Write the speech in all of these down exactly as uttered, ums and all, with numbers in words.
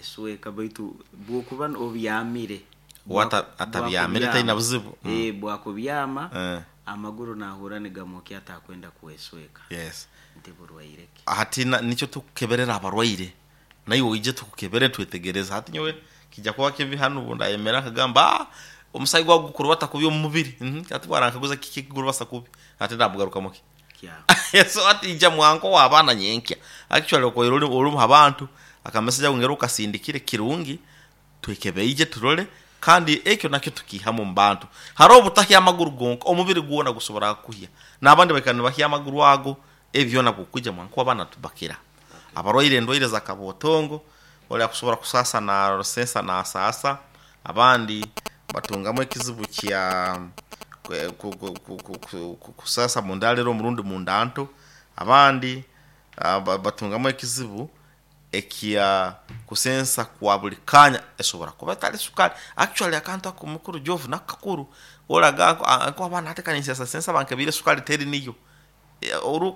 Kwesweka, baitu bwokuba obyamire. Wata atabyamire taina buzibu. Mm. Eh, bwakubyama Eh. amaguru nahura nigamukya atakwenda kwesweka. Yes. Nti burwaire ki? Hati na- nicyo tukukeberera abarwaire, naye oije tukukebere twetegereza. Hati nyowe kijja kuba kibi hano ubu ndayemera akagamba, "Ah, omusayi gwawe gukurubata kubi omu mubiri." Mhm, ati bwarankaguza kiki kigurubasa kubi, ati ndamugarukamu ki? Kya. So ati ija mwanko w'abaana nyenkya, actually okoire ori ori mu bantu akameseja ngero ukasindikire kirungi, twekebeije turole, kandi ekyo nakyo tukihamu mu bantu. Hariho obutahya amaguru gonka, omubiri gwona gusobora kuhya, n'abandi baikara nibahya amaguru ago. Ebyona bwokwija mwanko w'abaana tubakira abarwaire endwaire za kabotongo, oli akusobora kusasa na rusensa na sasa, abandi batungamu ekizibu kya kwe- ku- ku- ku- ku- ku- ku- kusasa mundalero omurundi mundanto, abandi ah, ba- batungamu ekizibu ekya kusensa kwa buli kanya, esobora kuba etali sukali. Actually akantu ako mukuru Jovu nakakuru olaga nko abaana atekanisa sensa bankebire sukali teri niyo. Eh, oru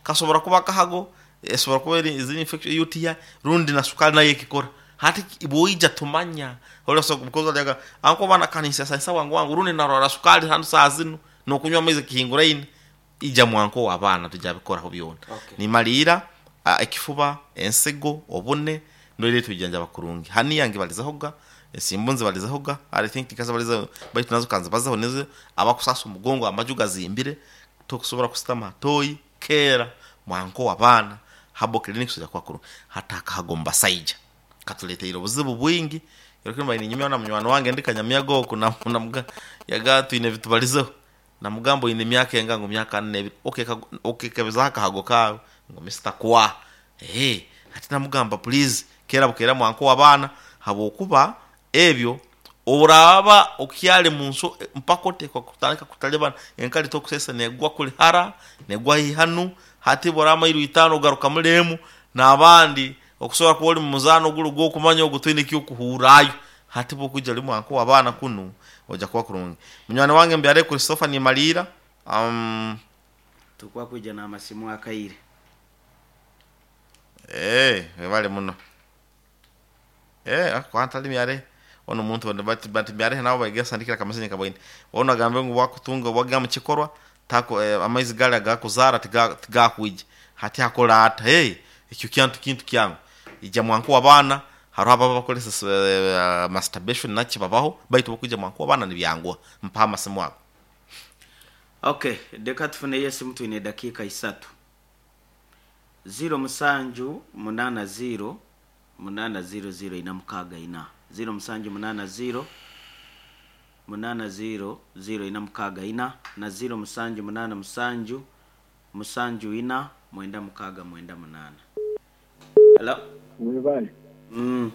kasobora kuba kahago, esobora kuba eri izini infection U T I rundi na sukali nayo ekikora. Hati bwoija tumanya ora so because laga anko bana kanisa sensa wangu wangu rundi narora sukali hanu saa zino nokunywa amaizi kihinguraine, ija mwanko w'abaana tujabikoraho byona. Okay. Nimalira ah, ekifuba, ensigo, obune ndoire tujanjaba kurungi. Hani yange balizahoga ensimbu nzibalizahoga, I think tikazabaliza baitu nazo kanza bazaho nizo abakusasa omugongo, amaju gazimbire, tokusobora kusitama toyi kera mwanko w'abaana habo clinic soja kwa kurungi. Hata akahagomba saija katuleteire obuzibu bwingi. Yorokimba ninyumya na munywani wange ndikanyamyaga oku na namuga yaga twine bitubalizeho, namugamba ine myaka enga, ngo myaka nne ebiri, okekebeza akahago kawe ngo Mister kwa eh ati namugamba, "Please kera bukera mwanko w'abaana," habwokuba ebyo oraba okyali munso mpaka otekwa kutandika kutalibana enkali tokusesa negwa kuli hara negwa hihanu. Hati borama iru itano ogaruka mulemu n'abandi okusobora kuba oli mu muzaano gulu gw'okumanya ogwo twine ekyokuhurayo. Hati bwokwija oli mwanko w'abaana kunu ojja kuba kurungi. Munywani wange mbyare Christopher, nimalira um, Tukwa kuija n'amasimu akaire. Eh, webale muno. Eh, kwantali myare ono muntu onde bati bati myare nabo baigesa ndikira kamasenyi kabwaine ono agambe ngu wakutunga waga mu kikorwa tako eh, amaizi gali agakuzara tiga tigakwija hati akola ata. Hey, ekyo kyantu kintu kyangu ija mwanko w'abaana. Hariho ababa bakolesa uh, masturbation naki babaho, baitu bokwija mwanko w'abaana nibyangwa mpa amasimu ago. Okay, reka tufuneyo esimu, twine dakiika isatu. Ziro musanju munana ziro munana ziro ziro ina mukaaga ina, ziro musanju munana ziro munana ziro ziro ina mukaaga ina na ziro musanju munana musanju musanju ina mwenda mukaaga mwenda munana. Hello. Mwebale. mm.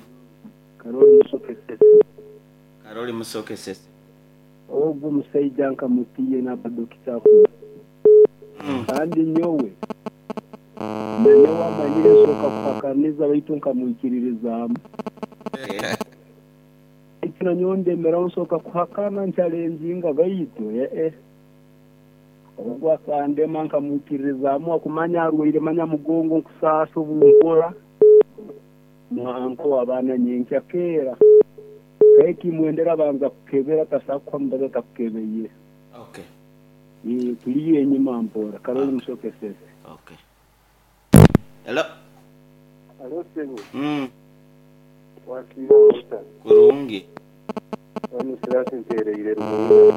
Karoli Musokesese. Karoli Musokesese. Ogwo omusaija nkamutiye n'abadokita, mm. kandi nyowe nanyowe amanyire nsooka kuhakaniza baitu nkamwikiririzaamu. Eh. Baitu nanyowe ndemeraho nsooka kuhakana ncalenjinga, baitu ee ogwo akandema nkamwikiririzaamu akumanya arwaire manya mugongo nkusaasa obunkora mwanko w'abaana nyenkya keera kaye kimwendera banza kukebera tasakuha mubaza takukebeye. Okay. Eh, tuliyo enyuma mpora. Karoli Musokesese. Okay, hello. Alo sebo, mm. wakira muta. Kurungi. Wano sirasi ntereire rumuna.